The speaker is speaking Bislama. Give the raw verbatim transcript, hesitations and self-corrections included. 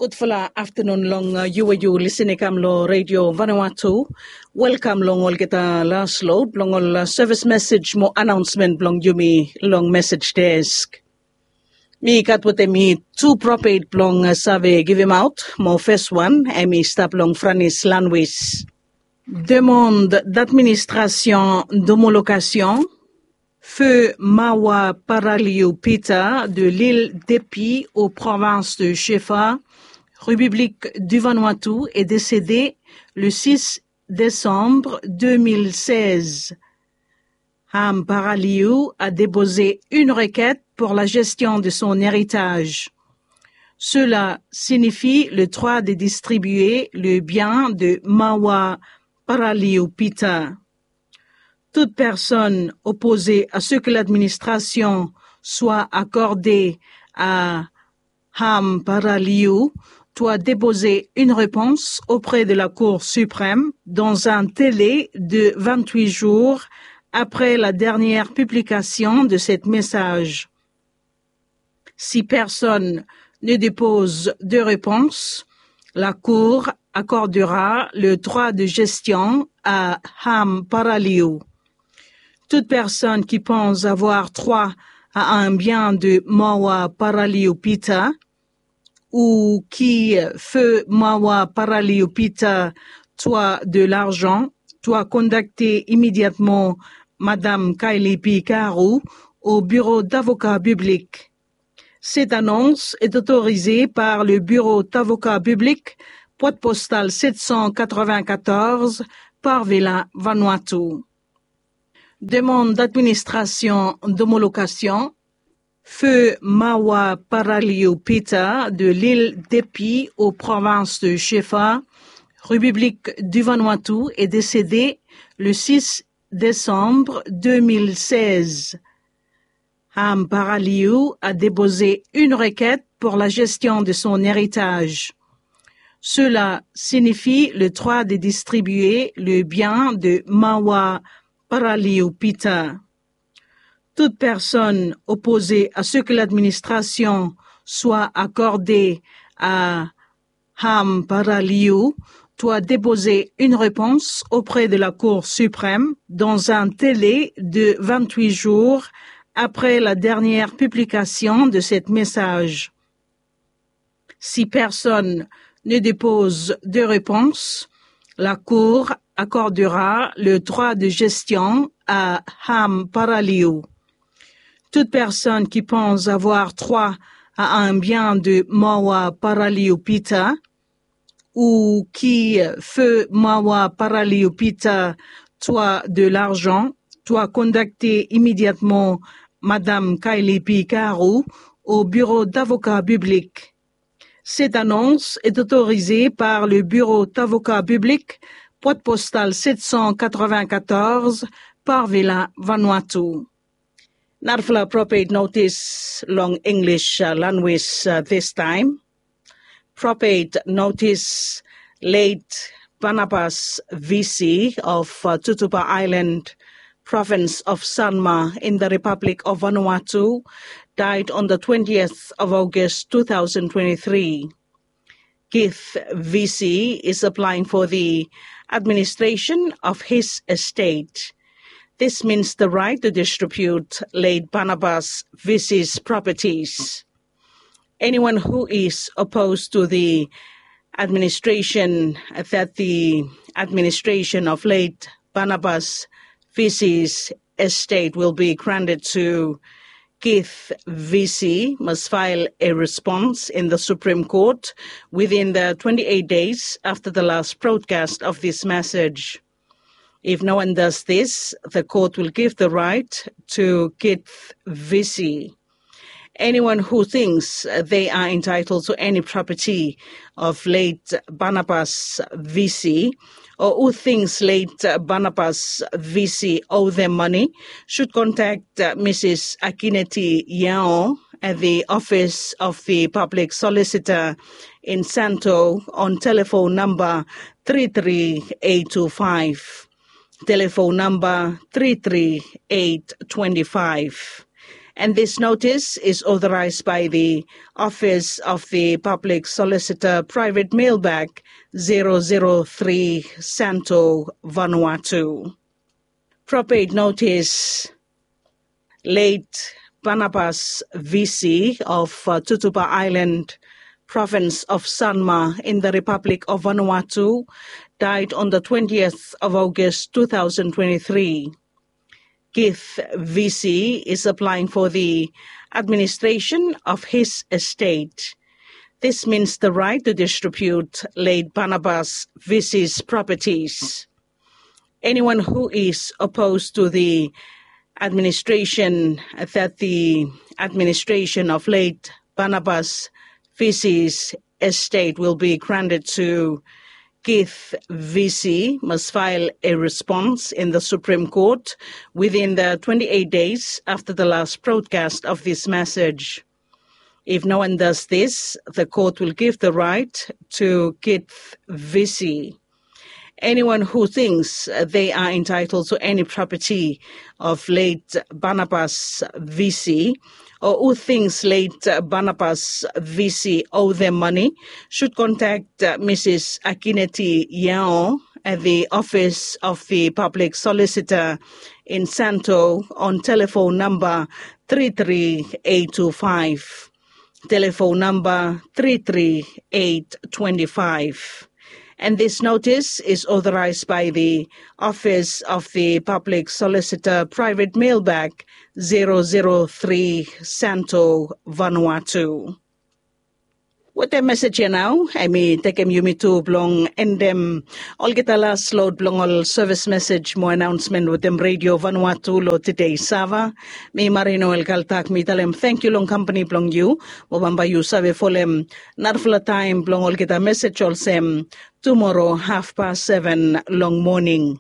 Gudfala aftanun long yu we yu lisin i kam long Redio Vanuatu. Welkam long olgeta las lod blong ol sevis mesij mo anaonsmen blong yumi long mesij desk. Mi gat wetem mi tu propet blong save givimaot mo fes wan em i stap long Franis Lanwis. Demande d'administration d'homologation. Feu Mawa Paraliu Peter de l'île d'Epi aux provinces de Shefa, République du Vanuatu, est décédé le six décembre deux mille seize. Ham Paraliu a déposé une requête pour la gestion de son héritage. Cela signifie le droit de distribuer le bien de Mawa Paraliu Peter. Toute personne opposée à ce que l'administration soit accordée à Ham Paraliu doit déposer une réponse auprès de la Cour suprême dans un délai de vingt-huit jours après la dernière publication de cette message. Si personne ne dépose de réponse, la Cour accordera le droit de gestion à Ham Paraliu. Toute personne qui pense avoir droit à un bien de Mawa Paraliu Peter ou qui feu Mawa Paraliu Peter doit de l'argent doit contacter immédiatement Madame Kylie P. Karu au bureau d'avocat public. Cette annonce est autorisée par le bureau d'avocat public, boîte postale sept cent quatre-vingt-quatorze, Parvela, Vanuatu. Demande d'administration d'homologation. Feu Mawa Paraliu Peter de l'île d'Epi aux provinces de Shefa, République du Vanuatu, est décédé le six décembre deux mille seize. Ham Paraliu a déposé une requête pour la gestion de son héritage. Cela signifie le droit de distribuer le bien de Mawa Paraliu Peter. Toute personne opposée à ce que l'administration soit accordée à Ham Paraliu doit déposer une réponse auprès de la Cour suprême dans un délai de vingt-huit jours après la dernière publication de cette message. Si personne ne dépose de réponse, la Cour accordera le droit de gestion à Ham Paraliu. Toute personne qui pense avoir droit à un bien de Mawa Paraliu Peter ou qui feu Mawa Paraliu Peter doit de l'argent doit contacter immédiatement Madame Kylie P. Karu au bureau d'avocat public. Cette annonce est autorisée par le bureau d'avocat public, boîte postale sept cent quatre-vingt-quatorze, Parvela, Vanuatu. Narafala propet notis long English lanwis this time. Propet notis: late Barnabas Visi of Tutuba Island, province of Sanma, in the Republic of Vanuatu, died on the twentieth of August two thousand twenty-three. Keith Visi is applying for the administration of his estate. This means the right to distribute late Barnabas Visi's properties. Anyone who is opposed to the administration, that the administration of late Barnabas Visi's estate will be granted to Keith Visi, must file a response in the Supreme Court within the twenty-eight days after the last broadcast of this message. If no one does this, the court will give the right to Keith Visi. Anyone who thinks they are entitled to any property of late Barnabas Visi, or who thinks late Barnabas Visi owe them money, should contact Missus Akineti Yao at the office of the public solicitor in Santo on telephone number three three eight two five. Telephone number three three eight twenty-five. And this notice is authorized by the Office of the Public Solicitor, Private Mailbag, zero zero three, Santo, Vanuatu. Probate notice. Late Barnabas Visi of uh, Tutuba Island, province of Sanma, in the Republic of Vanuatu, died on the twentieth of August two thousand twenty-three. Keith Visi is applying for the administration of his estate. This means the right to distribute late Barnabas Visi's properties. Anyone who is opposed to the administration, that the administration of late Barnabas Visi's estate will be granted to Keith Visi, must file a response in the Supreme Court within the twenty-eight days after the last broadcast of this message. If no one does this, the court will give the right to Keith Visi. Anyone who thinks they are entitled to any property of late Barnabas Visi, or who thinks late Barnabas Visi owe them money should contact uh, Missus Akineti Yao at the Office of the Public Solicitor in Santo on telephone number three three eight two five. Telephone number three three eight twenty-five. And this notice is authorized by the Office of the Public Solicitor, Private Mailbag, zero zero three, Santo, Vanuatu. Wetem mesej ya nao, hemi tekem yumi tu blong endem olgeta las lod blong ol sevis mesej mo anaonsmen wetem Redio Vanuatu lo tede Sava. Mi Marie Noel Kaltak mi talem tangkiu long kampani blong yu, mo bambae yu save folem narafala taem blong olgeta mesej olsem tumoro hafpas seven long moning.